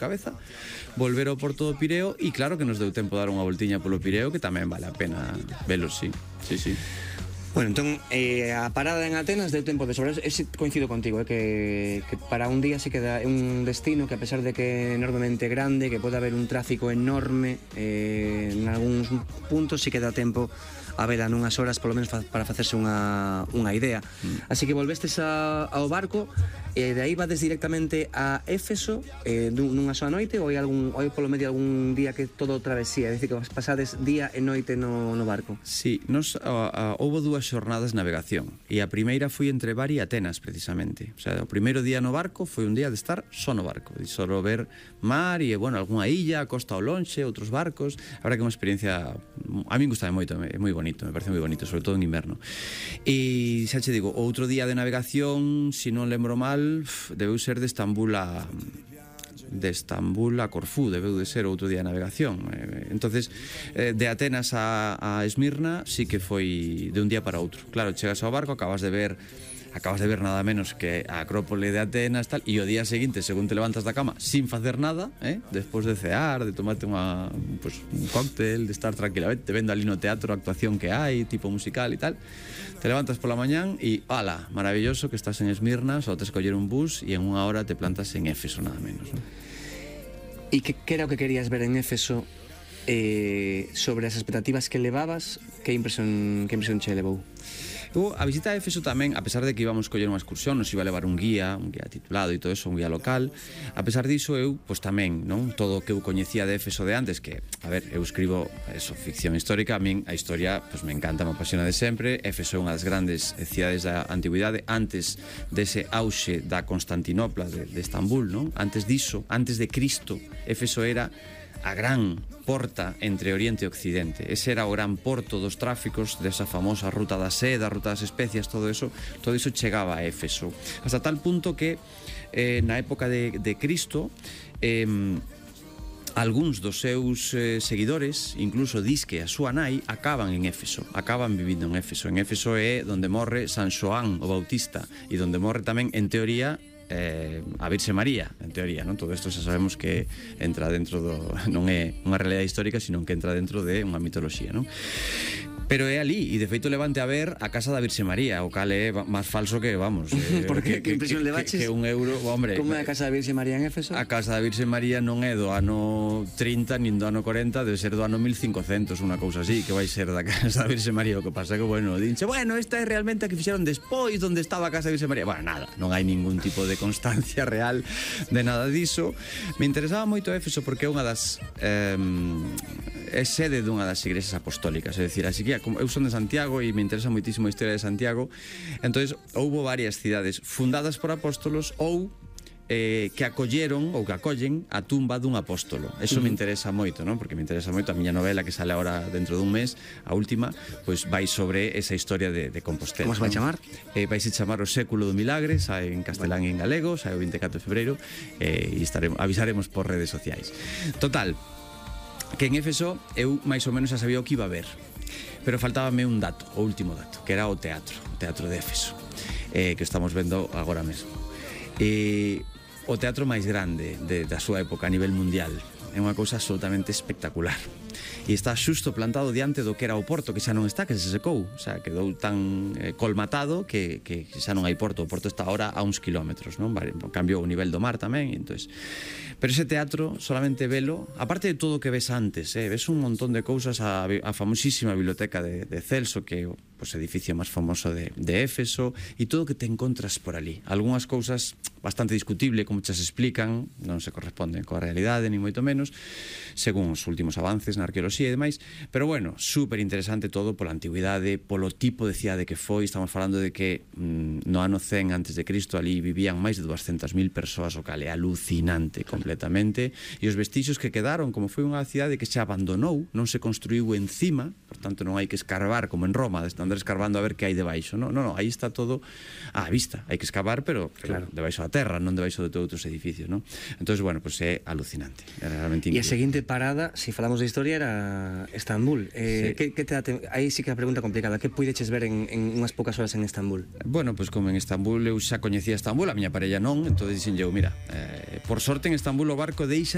cabeza, volver ao Porto do Pireo e claro que nos deu tempo dar unha voltiña polo Pireo que tamén vale a pena velo, sí. Bueno, entón, a parada en Atenas deu tempo de sobra. Ese coincido contigo, que para un día se queda un destino que a pesar de que é enormemente grande, que pode haber un tráfico enorme en algúns puntos, se queda tempo a vela nunhas horas, polo menos para facerse unha idea. Así que volvestes ao barco, e de aí vades directamente a Éfeso nunha soa noite, ou hai polo medio algún día que todo travesía, é dicir, que pasades día e noite no barco? Sí, houve dúas xornadas de navegación e a primeira foi entre Bari e Atenas, precisamente. O sea, o primeiro día no barco foi un día de estar só no barco, de só ver mar e, bueno, algunha illa, costa ao lonxe, outros barcos. A verdade que é unha experiencia, a min gustame moito, é moi bonito, me parece moi bonito, sobre todo en inverno. E xa che digo, outro día de navegación, se non lembro mal, debeu ser de Estambul a Corfú, debeu de ser outro día de navegación. Entonces, de Atenas a Esmirna sí que foi de un día para outro. Claro, chegas ao barco, acabas de ver nada menos que a Acrópole de Atenas, tal, e o día seguinte, según te levantas da cama sin facer nada, despois de cear, de tomarte un cóctel, de estar tranquilamente vendo ali no teatro a actuación que hai, tipo musical e tal, te levantas pola mañán e, ala, maravilloso que estás en Esmirna, só te escoller un bus e en unha hora te plantas en Éfeso, nada menos, ¿no? E que era o que querías ver en Éfeso sobre as expectativas que levabas? Que impresión che levou? A visita a Éfeso tamén, a pesar de que íbamos coller unha excursión, nos iba a levar un guía titulado e todo eso, un guía local, a pesar diso eu, pois tamén, non? Todo o que eu coñecía de Éfeso de antes, que, a ver, eu escribo ficción histórica, a min a historia, pois me encanta, me apasiona de sempre. Éfeso é unha das grandes cidades da antigüidade, antes dese auxe da Constantinopla, de Estambul, non? Antes diso, antes de Cristo, Éfeso era a gran porta entre Oriente e Occidente. Ese era o gran porto dos tráficos desa famosa ruta da seda, ruta das especias, todo iso chegaba a Éfeso. Hasta tal punto que na época de Cristo algúns dos seus seguidores, incluso disque a súa nai, acaban en Éfeso, acaban vivindo en Éfeso. En Éfeso é onde morre San Xoán o Bautista e onde morre tamén, en teoría, a Virxe María, en teoría, non? Todo isto xa sabemos que entra dentro non é unha realidade histórica, sino que entra dentro de unha mitoloxía, non? Pero é ali, e de feito levante a ver a casa da Virxe María, o cal é máis falso que, vamos, porque que impresión levaches? Que un euro, hombre. Como é a casa da Virxe María en Éfeso? A casa da Virxe María non é do ano 30 nin do ano 40, debe ser do ano 1500, unha cousa así, que vai ser da casa da Virxe María. O que pasa que, bueno, dinche, bueno, esta é realmente a que fixeron despois onde estaba a casa da Virxe María. Bueno, nada, non hai ningún tipo de constancia real de nada diso. Me interesaba moito Éfeso porque é unha das é sede dunha das igrexas apostólicas, é dicir, así que eu son de Santiago e me interesa moitísimo a historia de Santiago. Entonces houbo varias cidades fundadas por apóstolos ou que acolleron ou que acollen a tumba dun apóstolo. Eso me interesa moito, non? Porque me interesa moito a miña novela que sale agora dentro dun mes, a última, pois vai sobre esa historia de Compostela. Como se vai chamar? Vai se chamar O século do milagre, sai en castelán e en galego, sai o 24 de febreiro, e avisaremos por redes sociais. Total, que en Éfeso eu máis ou menos xa sabía o que iba a ver, pero faltábame un dato, o último dato, que era o teatro de Éfeso, que estamos vendo agora mesmo. O teatro máis grande da súa época a nivel mundial. É unha cousa absolutamente espectacular. E está xusto plantado diante do que era o porto, que xa non está, que se secou. O sea, quedou tan colmatado que xa non hai porto. O porto está ahora a uns kilómetros, non? Cambiou o nivel do mar tamén, entonces. Pero ese teatro, solamente velo, aparte de todo o que ves antes, ves un montón de cousas, a famosísima biblioteca de Celso, que é o edificio máis famoso de Éfeso, e todo o que te encontras por ali. Algúnas cousas bastante discutible, como xa se explican, non se corresponden coa realidade, ni moito menos, según os últimos avances na arqueoloxía e demais, pero bueno, super interesante todo pola antigüidade, polo tipo de cidade que foi. Estamos falando de que no ano 100 antes de Cristo ali vivían máis de 200.000 persoas, o cal é alucinante completamente, e os vestixios que quedaron, como foi unha cidade que se abandonou, non se construiu encima, por tanto non hai que escarbar como en Roma, de andar escarbando a ver que hai debaixo, non, aí está todo á vista, hai que escavar, pero claro, debaixo da terra, non debaixo de outros edificios, non? Entón, bueno, pues é alucinante, é realmente increíble. E a seguinte parada, se falamos de historia, era Estambul. Sí. Aí sí que é a pregunta complicada. Que puideches ver en unhas poucas horas en Estambul? Bueno, pues como en Estambul eu xa coñecía Estambul, a miña parella non, entón dixen eu, mira, por sorte en Estambul o barco deixa